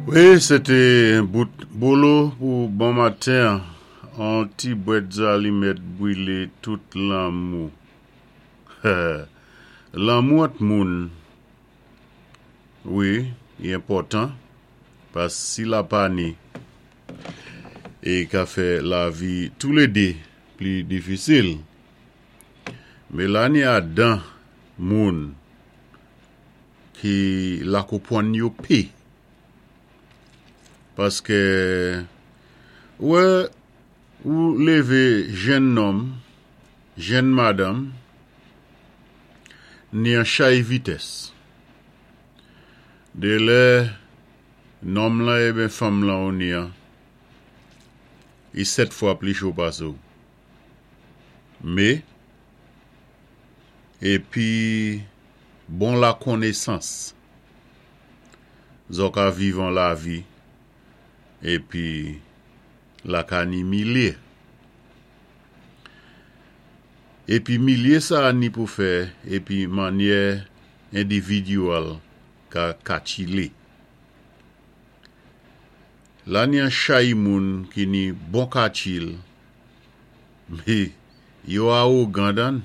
Wi, sé té bout Bolo pou bon maten. An ti bwèt zalimèt bwilé tout lanmou. Lanmou ant moun, wi, i enpòtan, pas si la pa ni, i ka fè lavi toulédé pli difisil. Mé la ni adan moun ki la konpwann yo pi. Paskè ou wè ou lévé jenn nonm, jenn madanm ni an chay vitès. Dé lè nonm lan eben fanm lan ou ni an, i 7 fwa pli cho pasé w. Mé, épi bon lakonnesans. Zò ka viv an lavi epi la ka ni milye. Epi milye sa a ni pou fè epi mannyè endividyèl ka katchile. La ni an chay moun ki ni bon katchil me yo awogan dann.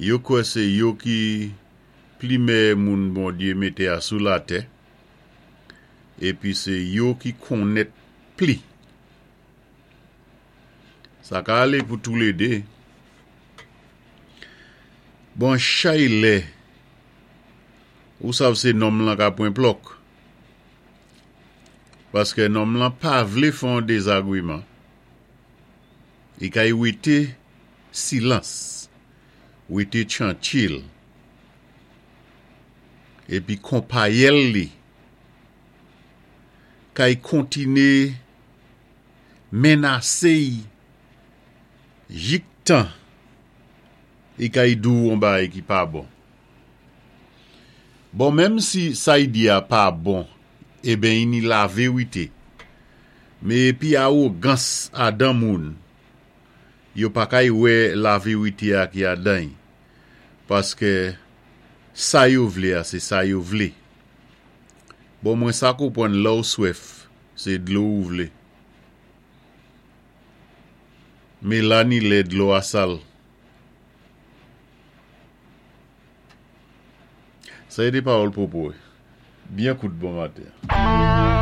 Yo kwè sé yo ki pli mèyè moun Bondyé mété a sou latè, épi sé yo ki konnèt pli. Sa ka alé pou toulédé. Bon chay lè ou sav sé nonm lan ka pwen plòk, paskè nonm lan pa vlé fè yon dezagwiman, i kay wété silans, wété tranchil, épi konpayèl li kay kontiné menasé-y jiktan i kay di-w on bagay ki pa bon. Bon, menm si sa-y di a pa bon, eben i ni lavérité, mé épi awogans adan moun Yo pa kay wè laverite a ki adan y, paskè sa yo vlé a sé sa yo vlé. Bon mwen sa konpwann lèw swèf sé dlo ou vlé. Mé la ni lè dlo a sal. Sa é té pawòl pwopo. Byen kout bon maten.